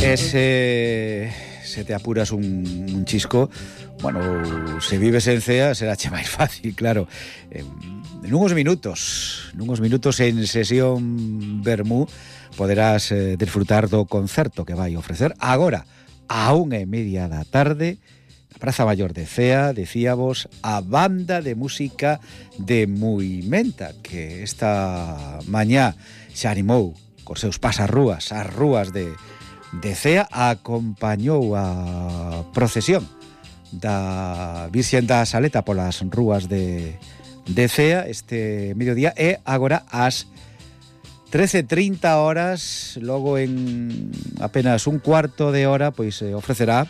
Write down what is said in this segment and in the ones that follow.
Se te apuras un chisco, bueno, se vives en Cea será che máis fácil, claro. En unos minutos en sesión Vermú poderás disfrutar do concerto que vai ofrecer agora a 1:30 da tarde na Praza Maior de Cea, decíamos, a banda de música de Muimenta, que esta mañá xa animou cos seus pasarrúas, as rúas de Cea, acompañou a procesión da Virxen da Saleta polas rúas de Cea este mediodía, e agora ás 13:30 horas, logo en apenas un cuarto de hora, pois ofrecerá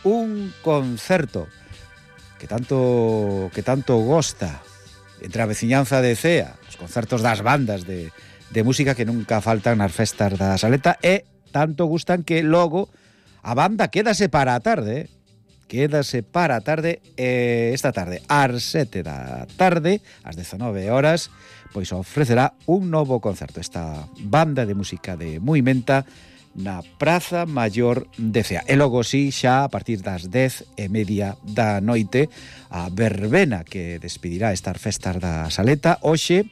un concerto que tanto gosta entre a veciñanza de Cea, os concertos das bandas de música que nunca faltan nas festas da Saleta, e tanto gustan que logo a banda quédase para a tarde, esta tarde ás 7 da tarde, ás 19 horas, pois ofrecerá un novo concerto esta banda de música de Muimenta na Praza Maior de Cea. E logo si, xa a partir das 10:30 da noite, a verbena que despedirá estas festas da Saleta, hoxe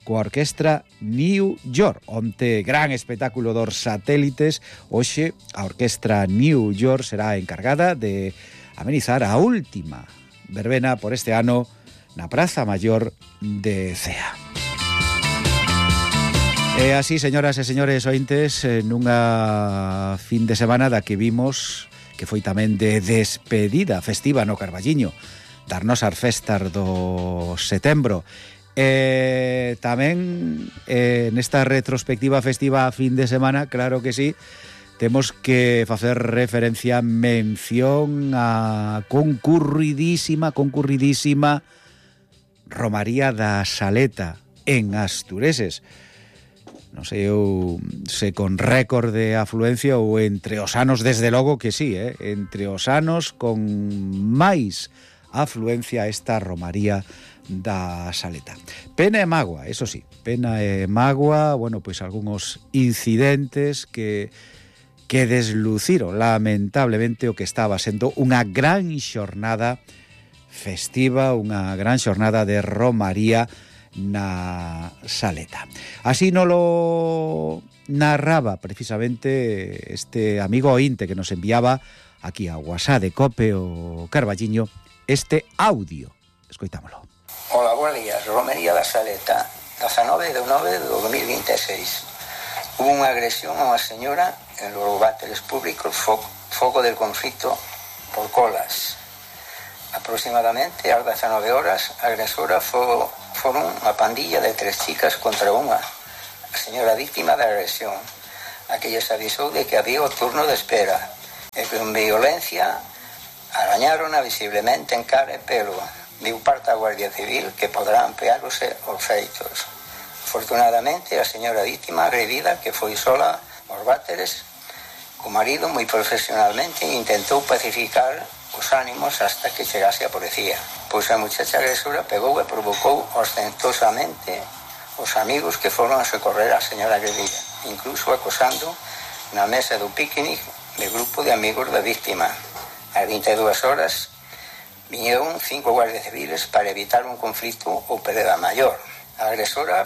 coa orquestra New York. Onte gran espectáculo dos satélites, hoxe a orquestra New York será encargada de amenizar a última verbena por este ano na Praza Maior de Cea. E así, señoras e señores ointes, nunha fin de semana da que vimos que foi tamén de despedida festiva no Carballiño das nosas festas do setembro. Tamén nesta retrospectiva festiva a fin de semana, claro que sí, temos que facer referencia, mención a concurridísima Romaría da Saleta en Astureses. Non sei eu se con récord de afluencia ou entre os anos, desde logo que sí, entre os anos con máis afluencia a esta Romaría da Saleta. Pena e mágoa, eso sí, pena e mágoa, bueno, pois algúns incidentes que desluciron lamentablemente o que estaba sendo unha gran xornada festiva, unha gran xornada de Romaría na Saleta. Así nolo narraba precisamente este amigo ointe que nos enviaba aquí a WhatsApp de Cope o Carballiño este audio. Escoitámolo. Hola, buenos días. Romería da Saleta, 19 de 9 de 2026. Hubo unha agresión a unha señora en los váteres públicos, foco del conflicto por colas. Aproximadamente ás 19 horas, a agresora foron unha pandilla de 3 chicas contra unha, a señora víctima da agresión, a que lles avisou de que había o turno de espera, e con violencia arañárona visiblemente en cara e pelo. Viu parte a Guardia Civil que poderá ampliarse os feitos. Afortunadamente, a señora víctima agredida, que foi sola aos váteres, o marido moi profesionalmente intentou pacificar os ánimos hasta que chegase a policía. Pois a muchacha agresora pegou e provocou ostentosamente os amigos que foron a socorrer a señora agredida, incluso acosando na mesa do picnic de grupo de amigos da víctima. Ás 22 horas viñeron 5 guardias civiles para evitar un conflito ou pelea maior. A agresora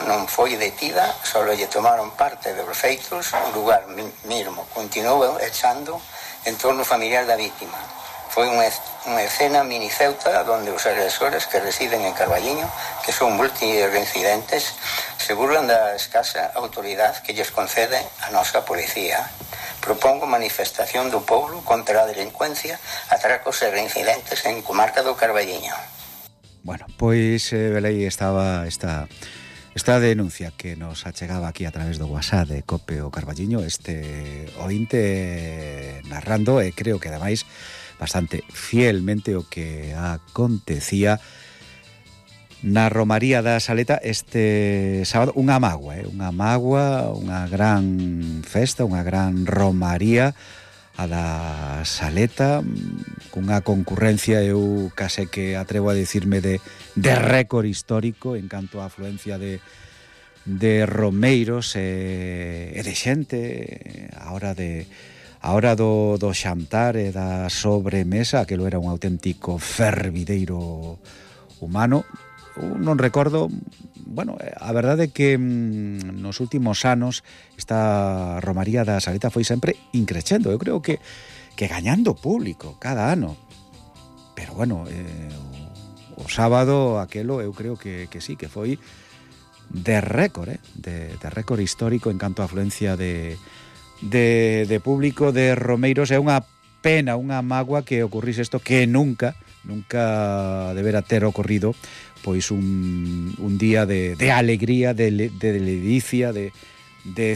non foi detida, só lle tomaron parte dos feitos, o lugar mesmo continuou echando en torno familiar da víctima. Foi unha escena mini Ceuta onde os agresores que residen en Carballiño, que son multireincidentes, se burlan da escasa autoridade que lles concede a nosa policía. Propongo manifestación do povo contra a delincuencia, atracos e reincidentes en comarca do Carballiño. Bueno, pois velei estaba esta denuncia que nos achegaba aquí a través do WhatsApp de Cope o Carballiño, este ointe narrando, e creo que ademais bastante fielmente o que acontecía na Romaría da Saleta este sábado. Unha mágoa, unha gran festa, unha gran romaría a da Saleta, cunha concurrencia, eu case que atrevo a dicirme de récord histórico en canto a afluencia de romeiros e de xente a hora do xantar e da sobremesa, aquilo era un auténtico fervideiro humano. Non recordo, bueno, a verdade é que nos últimos anos esta romaría da Saleta foi sempre increcendo, eu creo que gañando público cada ano, pero bueno, o sábado aquelo eu creo que sí, que foi de récord, de récord histórico en canto a afluencia de público, de romeiros. É unha pena, unha mágoa que ocurrise isto, que nunca debera ter ocorrido, pois un día de alegría, de ledicia, de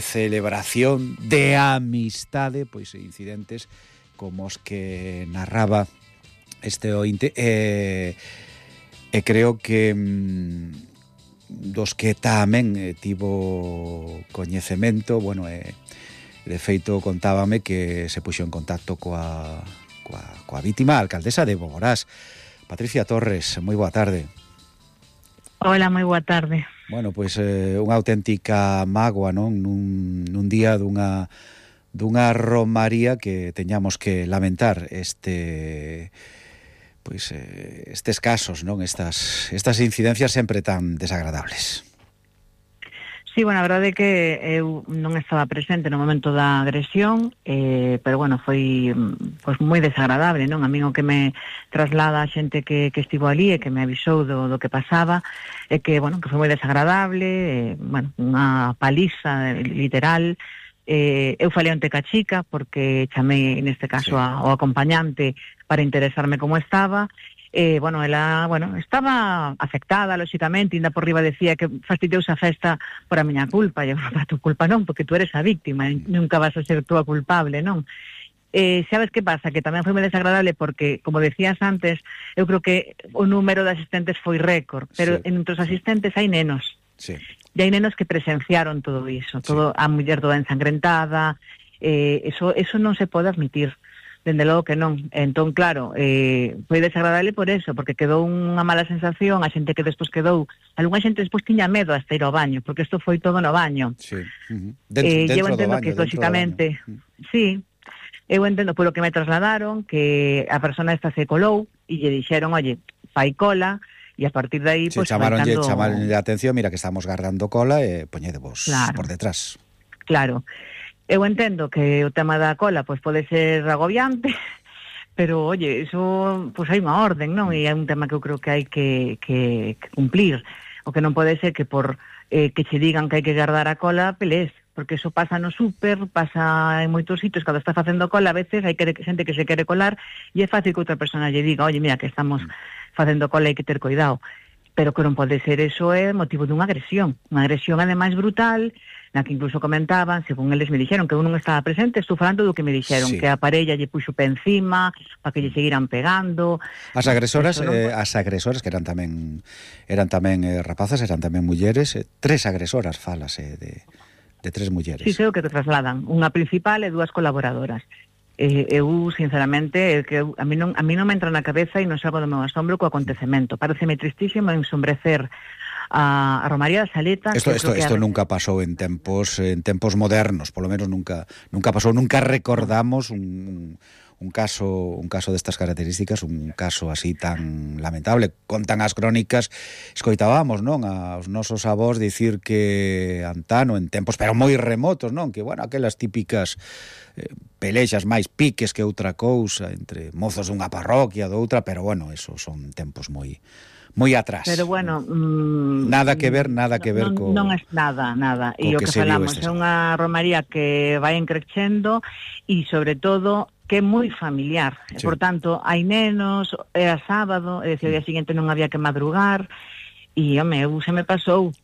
celebración, de amistade, pois incidentes como os que narraba este ointe, e creo que dos que tamén tivo coñecemento, bueno, de feito contábame que se puxo en contacto coa vítima, a alcaldesa de Boborás, Patricia Torres. Moi boa tarde. Hola, moi boa tarde. Bueno, pois unha auténtica mágoa, non? Nun día dunha romaría que teñamos que lamentar estes casos, non? Estas incidencias sempre tan desagradables. Sí, bueno, a verdade é que eu non estaba presente no momento da agresión, pero bueno, foi pois moi desagradable, non? A min o que me traslada a xente que estivo ali e que me avisou do que pasaba é que, bueno, que foi moi desagradable, bueno, unha paliza literal. Eu falei onte ca chica porque chamei neste caso ao acompañante para interesarme como estaba. Bueno, ela, estaba afectada, lóxicamente, ainda por riba decía que fastidiouse a festa por a miña culpa. E eu, para tu culpa non, porque tú eres a víctima, nunca vas a ser tú a culpable, non? Sabes que pasa? Que tamén foi moi desagradable porque, como decías antes, eu creo que o número de asistentes foi récord, pero entre os asistentes hai nenos. Sí. E hai nenos que presenciaron todo iso, todo a muller toda ensangrentada, eso non se pode admitir. Dende logo que non. Entón, claro, foi desagradable por eso, porque quedou unha mala sensación, a xente que despois quedou, algunha xente despois tiña medo hasta ir ao baño, porque isto foi todo no baño. Sí. Eu entendo que, lóxicamente, sí, eu entendo polo que me trasladaron, que a persona esta se colou, e lle dixeron, oye, fai cola, e a partir de aí, pues, chamaronlle a atención, mira que estamos guardando cola, e poñedevos por detrás. Claro. Eu entendo que o tema da cola pois pode ser agobiante, pero, oye, iso, pois hai unha orden, non? E é un tema que eu creo que hai que cumplir. O que non pode ser que por que che digan que hai que guardar a cola, pelés, porque iso pasa no súper, pasa en moitos sitios, cando está facendo cola, a veces hai xente que se quere colar, e é fácil que outra persona lle diga, oye, mira, que estamos facendo cola, hai que ter cuidado. Pero que non pode ser, eso é motivo dunha agresión ademais brutal, na que incluso comentaban, según eles me dixeron, que eu non estaba presente, estou falando do que me dixeron, que a parella lle puxo pé encima, para que lle seguiran pegando. As agresoras que eran tamén rapazas, eran tamén mulleres, 3 agresoras, falase de 3 mulleres. Sí, sei o que te trasladan, unha principal e 2 colaboradoras. Eu, sinceramente, a mí non me entra na cabeza e non salgo do meu asombro co acontecemento. Pareceme tristísimo ensombrecer a Romaría da Saleta. Isto nunca pasou en tempos modernos, polo menos nunca pasou, nunca recordamos un caso destas características, un caso así tan lamentable. Contan as crónicas, escoitábamos, non, aos nosos avós dicir que antano, en tempos pero moi remotos, non, que, bueno, aquelas típicas pelexas máis piques que outra cousa entre mozos dunha parroquia, doutra, pero, bueno, esos son tempos moi atrás. Pero, bueno, nada que ver co... Non é nada. E o que falamos é unha romaría que vai encrecendo e, sobre todo, que é moi familiar. Sí. Por tanto, hai nenos, era sábado, é dicir, o día seguinte non había que madrugar, e, home, se me pasou.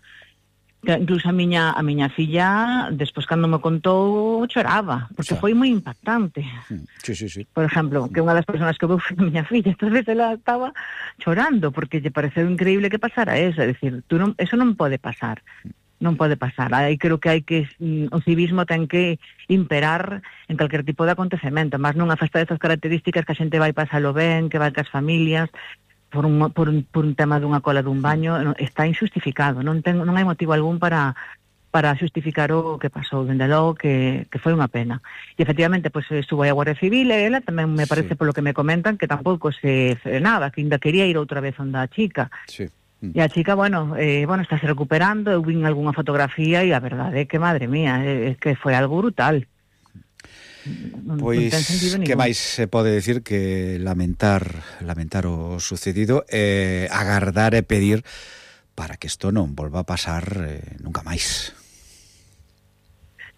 Incluso a miña filla, despois cando me contou, choraba, porque foi moi impactante. Sí. Por exemplo, que unha das persoas que veu foi a miña filla, entonces ela estaba chorando, porque lle pareceu increíble que pasara eso, é dicir, eso non pode pasar. Non pode pasar. Aí creo que o civismo ten que imperar en calquer tipo de acontecemento, mas nunha festa destas características que a xente vai pasalo ben, que vai cas familias, por un tema dunha cola dun baño está injustificado, non hai motivo algún para xustificar o que pasou, dende logo que foi unha pena. E efectivamente, pois estuvo aí a Guardia Civil e ela tamén me parece polo que me comentan que tampouco se frenaba, que ainda quería ir outra vez onde a chica. Sí. E a chica, bueno, está se recuperando, eu vin algunha fotografía e a verdade é que, madre mía, é que foi algo brutal. Pois, que máis se pode decir que lamentar o sucedido, agardar e pedir para que isto non volva a pasar nunca máis.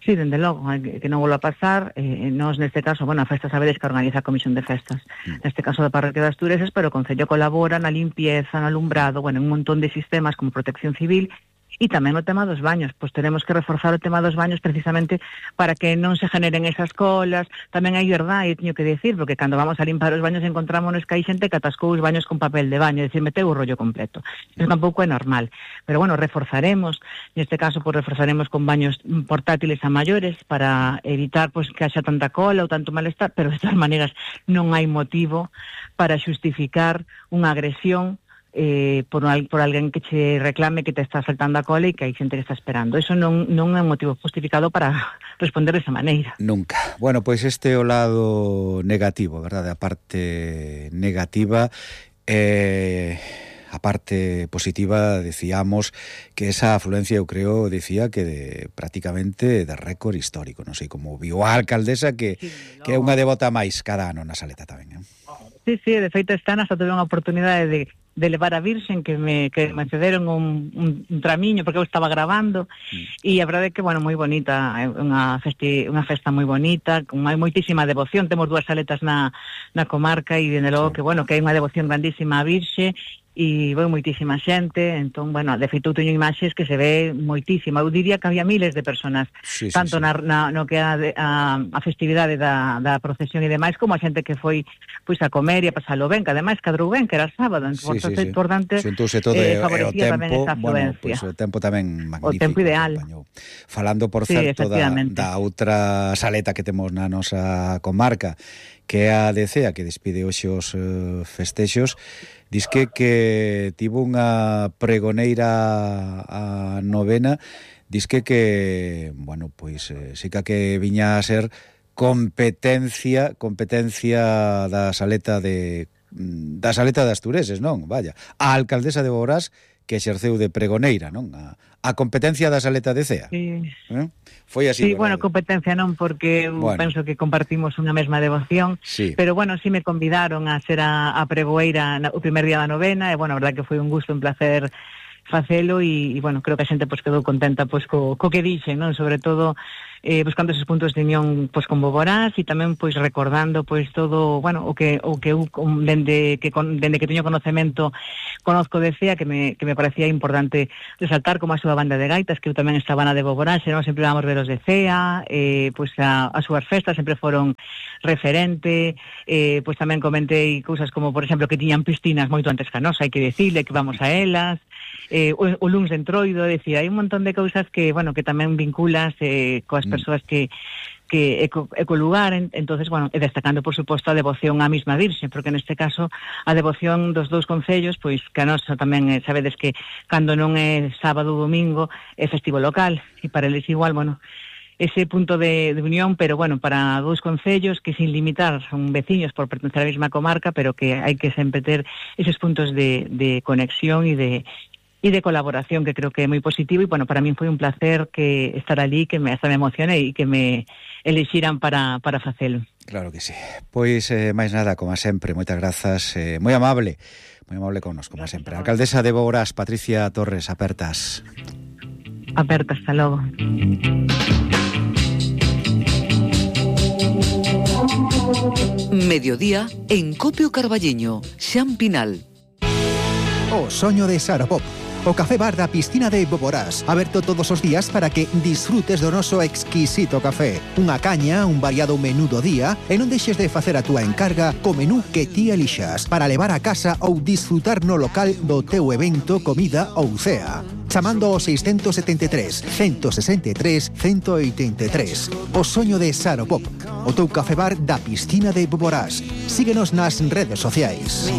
Sí, dende logo, que non volva a pasar. Nós, neste caso, a festa sabedes que organiza a Comisión de Festas. Neste caso da Parroquia das Tureses, pero o Concello colabora na limpieza, no alumbrado, un montón de sistemas como Protección Civil. E tamén o tema dos baños, pois teremos que reforzar o tema dos baños precisamente para que non se generen esas colas. Tamén hai verdade, teño que decir, porque cando vamos a limpar os baños encontrámonos que hai xente que atascou os baños con papel de baño, é dicir, meteu o rollo completo. Eso tampouco é normal. Pero reforzaremos, neste caso, reforzaremos con baños portátiles a maiores para evitar que haxa tanta cola ou tanto malestar, pero de todas maneiras non hai motivo para xustificar unha agresión por alguén que che reclame que te está saltando a cola e que hai xente que está esperando. Eso non é un motivo justificado para responder desa maneira. Nunca. Bueno, pois este é o lado negativo, verdade? A parte negativa, a parte positiva, decíamos que esa afluencia, eu creo, decía que prácticamente de récord histórico, non sei como viu a alcaldesa que é unha devota máis cada ano na Saleta tamén, Sí, de feito esta ano hasta tuve unha oportunidade de levar a Virxen que me cederon un tramiño porque eu estaba grabando e a verdade é que, moi bonita, unha festa moi bonita, con moitísima devoción. Temos 2 saletas na comarca e dende logo que hai unha devoción grandísima a Virxe e foi moitísima xente. Entón, de feito eu teño imaxes que se ve moitísima. Eu diría que había miles de personas, tanto no que a festividade da procesión e demais, como a xente que foi a comer e a pasalo ben, que ademais cadrou ben, que era sábado. Entón, importante, xuntouse todo o tempo, o tempo tamén magnífico. O tempo ideal. Falando, por certo, da outra saleta que temos na nosa comarca, que é a de Cea, que despide hoxe os festexos, disque que tivo unha pregoneira a novena, disque que, sí que viña a ser competencia da saleta das Tureses, non? Vaya, a alcaldesa de Boborás que exerceu de pregoneira, non? A competencia da Saleta de Cea. Sí. Foi así, sí, competencia non, porque penso que compartimos unha mesma devoción, pero sí me convidaron a ser a pregoeira o primer día da novena, e a verdade que foi un gusto, un placer facelo, e creo que a xente quedou contenta co que dixen, non? Sobre todo buscando esos puntos de unión con Boborás e tamén recordando todo, o que eu dende que teño conocemento conozco de Cea, que me parecía importante resaltar como a súa banda de gaitas, que eu tamén estaba na de Boborás, e non sempre vamos ver os de Cea, as súas festas sempre foron referente, tamén comentei cousas como, por exemplo, que tiñan piscinas moito antes que a nosa, hai que decirle que vamos a elas, o luns de Entroido, decir, hai un montón de cousas que tamén vinculas coas persoas que co lugar, entonces, e destacando, por suposto, a devoción á mesma Virxe, porque neste caso a devoción dos 2 concellos, que a nosa tamén, sabedes que cando non é sábado ou domingo é festivo local, e para eles igual, ese punto de unión, pero para 2 concellos que sin limitar son veciños por pertencer á mesma comarca, pero que hai que sempre ter eses puntos de conexión e de colaboración, que creo que é moi positivo, e para min foi un placer que estar ali, que hasta me emocionei e que me elixiran para facelo. Claro que sí. Pois, máis nada, como sempre, moitas grazas, moi amable connos, como sempre. A alcaldesa de Boborás, Patricia Torres, apertas. Apertas, hasta logo. Mediodía en Copio Carballiño, Xan Pinal. O soño de Saropop, o café bar da piscina de Boborás, aberto todos os días para que disfrutes do noso exquisito café. Unha caña, un variado menú do día, e non deixes de facer a túa encarga co menú que ti elixas, para levar a casa ou disfrutar no local do teu evento, comida ou cea. Chamando ao 673 163 183. O soño de Saropop, o teu café bar da piscina de Boborás. Síguenos nas redes sociais.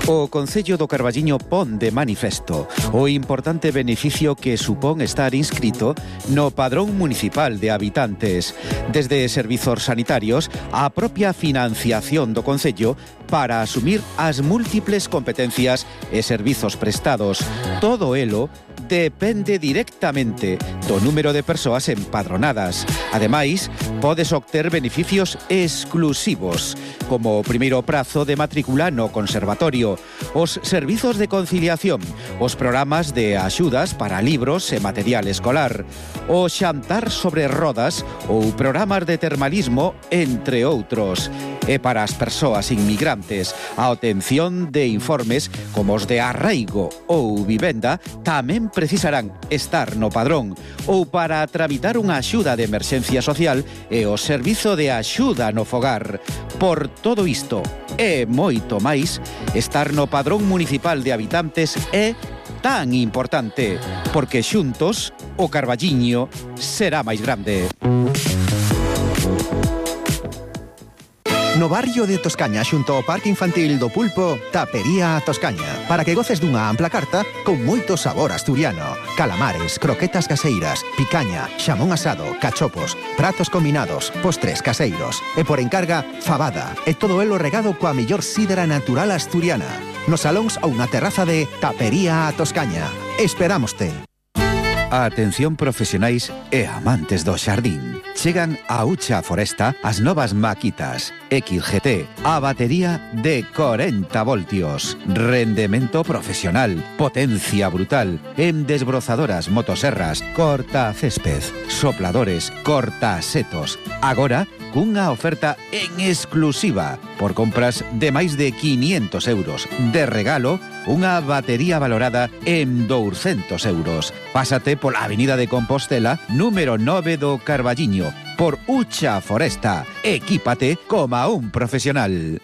O Concello do Carballiño pon de manifesto o importante beneficio que supón estar inscrito no Padrón Municipal de Habitantes, desde servizos sanitarios á propia financiación do Concello para asumir as múltiples competencias e servizos prestados. Todo elo depende directamente do número de persoas empadronadas. Ademais, podes obter beneficios exclusivos, como o primeiro prazo de matrícula no conservatorio, os servizos de conciliación, os programas de axudas para libros e material escolar, o xantar sobre rodas ou programas de termalismo, entre outros. E para as persoas inmigrantes, a obtención de informes como os de arraigo ou vivenda tamén precisarán estar no padrón, ou para tramitar unha axuda de emerxencia social e o servizo de axuda no fogar. Por todo isto e moito máis, estar no Padrón Municipal de Habitantes é tan importante, porque xuntos o Carballiño será máis grande. No barrio de Toscaña, xunto ao Parque Infantil do Pulpo, Tapería Toscaña, para que goces dunha ampla carta con moito sabor asturiano. Calamares, croquetas caseiras, picaña, xamón asado, cachopos, pratos combinados, postres caseiros e por encarga, fabada e todo elo regado coa mellor sidra natural asturiana. Nos salóns ou na terraza de Tapería Toscaña. Esperámoste. Atención profesionais e amantes do xardín. Chegan a Ucha Foresta as novas maquitas XGT, a batería de 40 voltios, rendemento profesional, potencia brutal, en desbrozadoras, motoserras, cortacésped, sopladores, cortasetos. Agora, cunha oferta en exclusiva por compras de máis de 500 euros. De regalo, unha batería valorada en 200 euros. Pásate pola Avenida de Compostela, número 9 do Carballiño, por Ucha Foresta. Equípate como un profesional.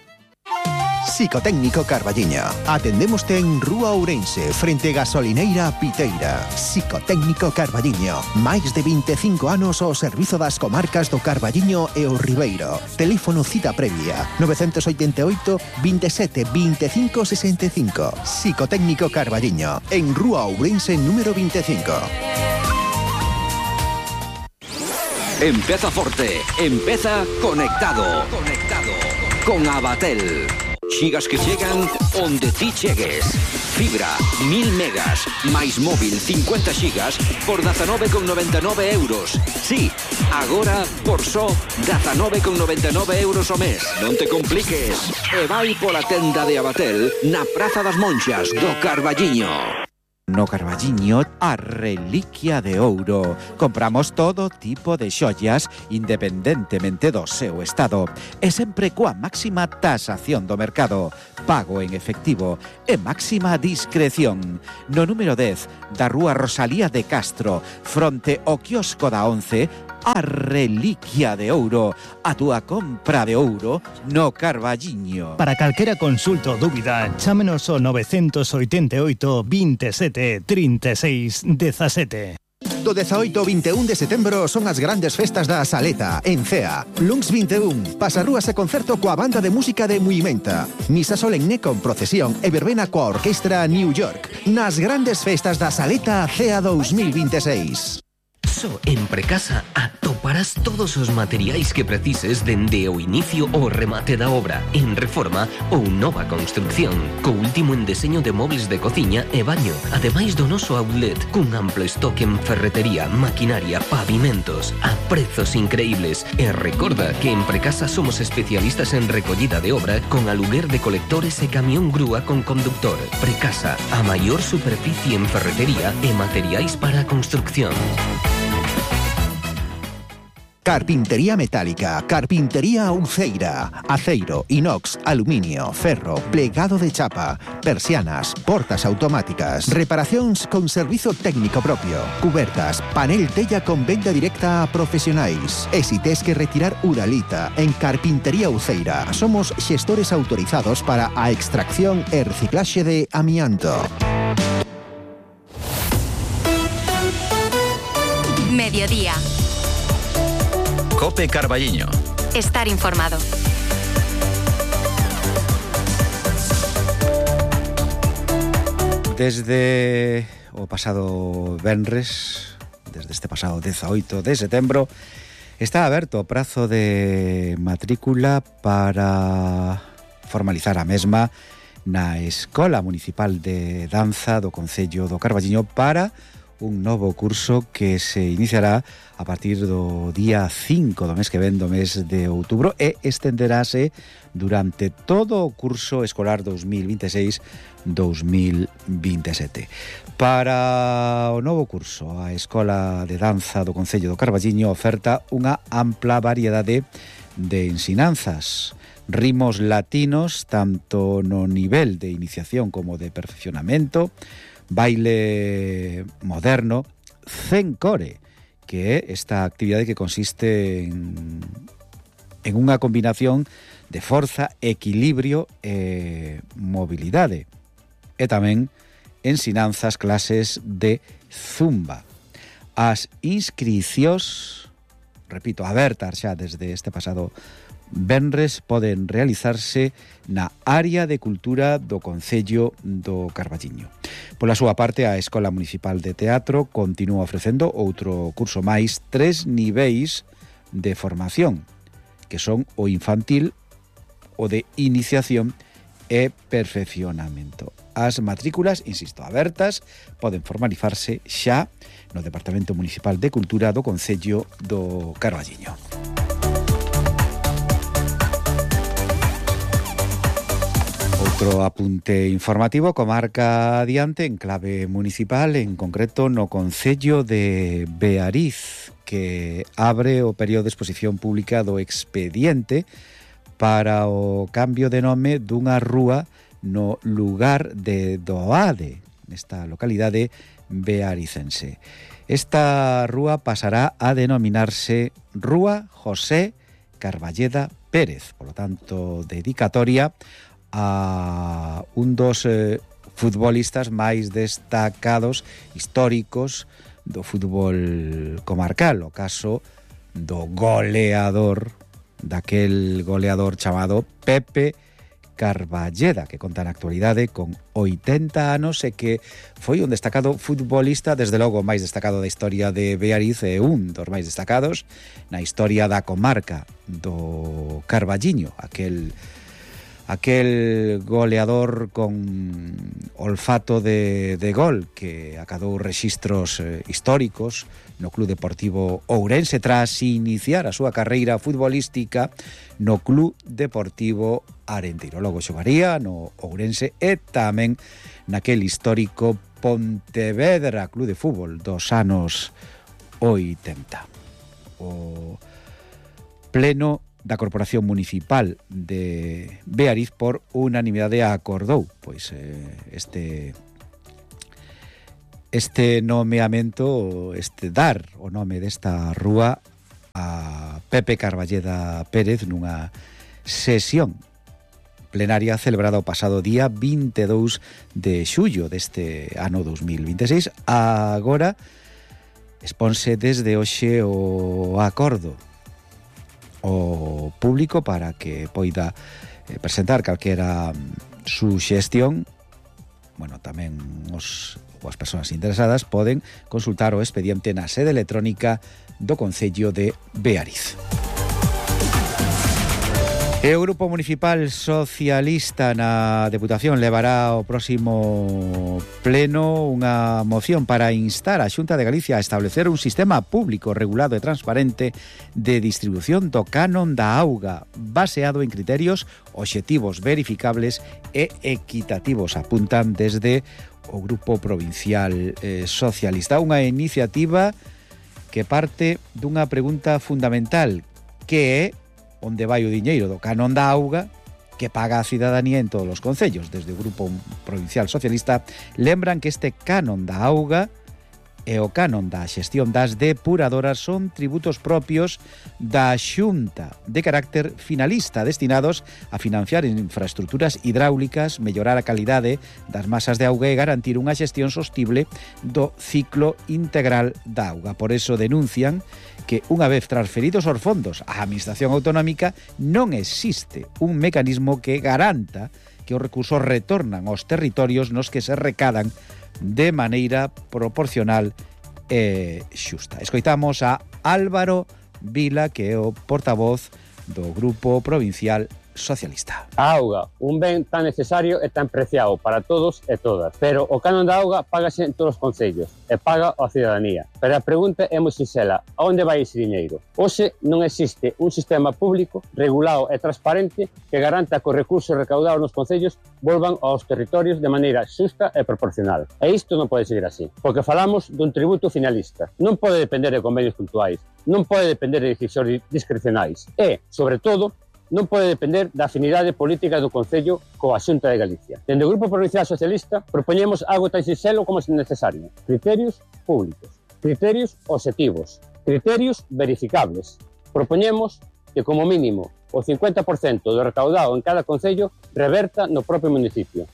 Psicotécnico Carballiño. Atendémoste en Rúa Ourense, frente Gasolineira Piteira. Psicotécnico Carballiño. Máis de 25 anos ao servizo das comarcas do Carballiño e o Ribeiro. Teléfono cita previa 988 27 25 65. Psicotécnico Carballiño. En Rúa Ourense número 25. Empeza forte, empeza conectado. Con Abatel. Xigas que chegan onde ti chegues. Fibra, 1000 megas, máis móvil 50 xigas por 19,99 euros. Sí, agora por só 19,99 euros ao mes. Non te compliques. E vai pola tenda de Abatel na Praza das Monxas do Carballiño. No Carballiño, a reliquia de ouro. Compramos todo tipo de xollas independentemente do seu estado e sempre coa máxima tasación do mercado, pago en efectivo e máxima discreción. No número 10 da Rúa Rosalía de Castro, fronte ao quiosco da 11, a reliquia de ouro, a túa compra de ouro no Carballiño. Para calquera consulta ou dúbida, chámenos ao 988 27 36 17. Do 18 ao 21 de setembro son as grandes festas da Saleta, en Cea. Luns 21, pasarrúas e concerto coa banda de música de Muimenta. Misa solemne con procesión e verbena coa orquestra New York. Nas grandes festas da Saleta Cea 2026. Só en Precasa atoparás todos os materiais que precises dende o inicio ao remate da obra, en reforma ou nova construcción, co último en deseño de mobles de cociña e baño, ademais do noso outlet, cun amplo stock en ferretería, maquinaria, pavimentos, a prezos increíbles. E recorda que en Precasa somos especialistas en recollida de obra con aluguer de colectores e camión grúa con conductor. Precasa, a maior superficie en ferretería e materiais para a construcción. Carpintería metálica, carpintería Uceira, aceiro, inox, aluminio, ferro, plegado de chapa, persianas, portas automáticas, reparacións con servizo técnico propio, cubertas, panel tella con venda directa a profesionais. E si tes que retirar uralita, en Carpintería Uceira somos xestores autorizados para a extracción e reciclaxe de amianto. Mediodía. Cope Carballiño. Estar informado. Desde o pasado venres, desde este pasado 18 de setembro, está aberto o prazo de matrícula para formalizar a mesma na Escola Municipal de Danza do Concello do Carballiño para un novo curso que se iniciará a partir do día 5 do mes que ven, do mes de outubro, e estenderase durante todo o curso escolar 2026-2027. Para o novo curso, a Escola de Danza do Concello do Carballiño oferta unha ampla variedade de ensinanzas, ritmos latinos, tanto no nivel de iniciación como de perfeccionamento, baile moderno, zencore, que é esta actividade que consiste en unha combinación de forza, equilibrio e mobilidade. E tamén ensinanzas, clases de zumba. As inscricións, repito, abertas xa desde este pasado venres, poden realizarse na área de cultura do Concello do Carballiño. Pola súa parte, a Escola Municipal de Teatro continúa ofrecendo outro curso máis, 3 niveis de formación, que son o infantil, o de iniciación e perfeccionamento. As matrículas, insisto, abertas, poden formalizarse xa no Departamento Municipal de Cultura do Concello do Carballiño. Outro apunte informativo, comarca adiante en clave municipal, en concreto no Concello de Beariz, que abre o período de exposición pública do expediente para o cambio de nome dunha rúa no lugar de Doade, nesta localidade bearicense. Esta rúa pasará a denominarse Rúa José Carballeda Pérez, por lo tanto, dedicatoria a un dos futbolistas máis destacados, históricos do fútbol comarcal, o caso do goleador, daquel goleador chamado Pepe Carballeda, que conta na actualidade con 80 anos e que foi un destacado futbolista, desde logo o máis destacado da historia de Beariz e un dos máis destacados na historia da comarca do Carballiño, aquel goleador con olfato de gol que acadou rexistros históricos no Club Deportivo Ourense tras iniciar a súa carreira futbolística no Club Deportivo Arenteiro. Logo xogaría no Ourense e tamén naquel histórico Pontevedra Club de Fútbol dos anos 80. O pleno da Corporación Municipal de Beariz por unanimidade acordou pois este nomeamento, dar o nome desta rúa a Pepe Carballeda Pérez nunha sesión plenaria celebrada o pasado día 22 de xullo deste ano 2026. Agora exponse desde hoxe o acordo o público para que poida presentar calquera suxestión. Bueno, tamén as persoas interesadas poden consultar o expediente na sede electrónica do Concello de Beariz. E o Grupo Municipal Socialista na Deputación levará ao próximo pleno unha moción para instar a Xunta de Galicia a establecer un sistema público, regulado e transparente de distribución do canon da auga, baseado en criterios obxectivos, verificables e equitativos, apuntan desde o Grupo Provincial Socialista. Unha iniciativa que parte dunha pregunta fundamental, que é onde vai o diñeiro do canon da auga que paga a cidadanía en todos os concellos. Desde o Grupo Provincial Socialista lembran que este canon da auga e o canon da xestión das depuradoras son tributos propios da Xunta de carácter finalista, destinados a financiar infraestructuras hidráulicas, mellorar a calidade das masas de auga e garantir unha xestión sostible do ciclo integral da auga. Por eso denuncian que unha vez transferidos os fondos á Administración Autonómica non existe un mecanismo que garanta que os recursos retornan aos territorios nos que se recadan de maneira proporcional e xusta. Escoitamos a Álvaro Vila, que é o portavoz do Grupo Provincial Socialista. A auga, un ben tan necesario e tan preciado para todos e todas, pero o canon da auga págase en todos os concellos e paga a cidadanía. Pero a pregunta é moi sinxela: a onde vai ese diñeiro? Hoxe non existe un sistema público regulado e transparente que garanta que os recursos recaudados nos concellos volvan aos territorios de maneira xusta e proporcional. E isto non pode seguir así, porque falamos dun tributo finalista. Non pode depender de convenios puntuais, non pode depender de decisións discrecionais e, sobre todo, non pode depender da afinidade política do Concello coa Xunta de Galicia. Dende o Grupo Provincial Socialista propoñemos algo tan sinxelo como é necesario: criterios públicos, criterios obxectivos, criterios verificables. Propoñemos que, como mínimo, o 50% do recaudado en cada concello reverta no propio municipio.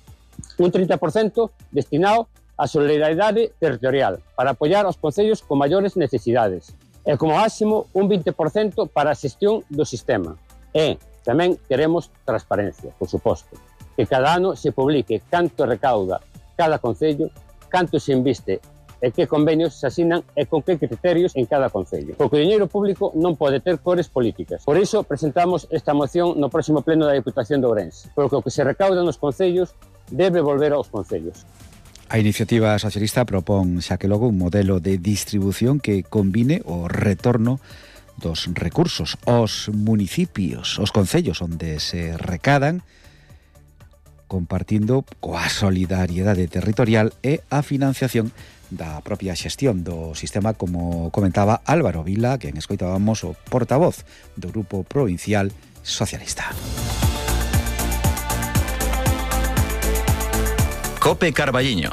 Un 30% destinado á solidariedade territorial para apoiar aos concellos con maiores necesidades. E, como máximo, un 20% para a xestión do sistema. E tamén queremos transparencia, por suposto, que cada ano se publique canto recauda cada concello, canto se inviste e que convenios se asinan e con que criterios en cada concello. Porque o diñeiro público non pode ter cores políticas. Por iso presentamos esta moción no próximo pleno da Diputación de Ourense, porque o que se recauda nos concellos debe volver aos concellos. A iniciativa socialista propón, xa que logo, un modelo de distribución que combine o retorno dos recursos aos municipios, aos concellos onde se recadan, compartindo coa solidariedade territorial e a financiación da propia xestión do sistema, como comentaba Álvaro Vila, quen escoitábamos o portavoz do Grupo Provincial Socialista. Cope Carballiño.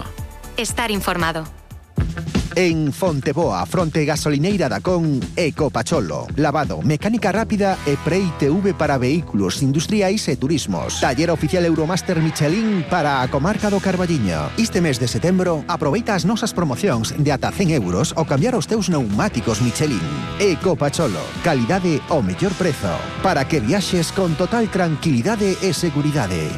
Estar informado. En Fonteboa, fronte gasolineira da Con, Ecopacholo. Lavado, mecánica rápida e pre-ITV para vehículos industriais e turismos. Taller oficial Euromaster Michelin para a comarca do Carballiño. Este mes de setembro, aproveita as nosas promocións de ata 100 euros ao cambiar os teus neumáticos Michelin. Ecopacholo, calidade ao mellor prezo, para que viaxes con total tranquilidade e seguridade.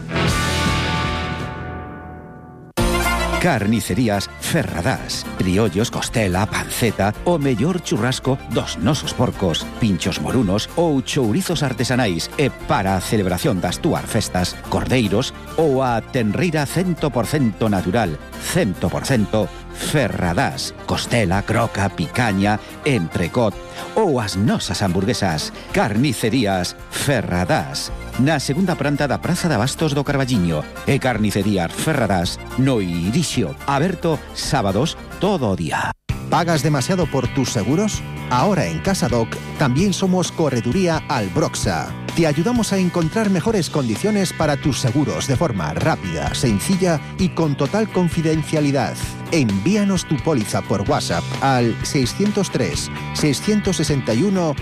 Carnicerías Ferradás. Criollos, costela, panceta, o mellor churrasco dos nosos porcos, pinchos morunos ou chourizos artesanais. E para a celebración das túas festas, cordeiros ou a tenreira 100% natural, 100% Ferradás. Costela, croca, picaña, entrecot ou as nosas hamburguesas. Carnicerías Ferradás. Na segunda planta da Praza de Abastos do Carballiño. E Carnicerías Ferradás no Irixio. Aberto sábados todo o día. ¿Pagas demasiado por tus seguros? Ahora en CasaDoc también somos Correduría Albroxa. Te ayudamos a encontrar mejores condiciones para tus seguros de forma rápida, sencilla y con total confidencialidad. Envíanos tu póliza por WhatsApp al 603 661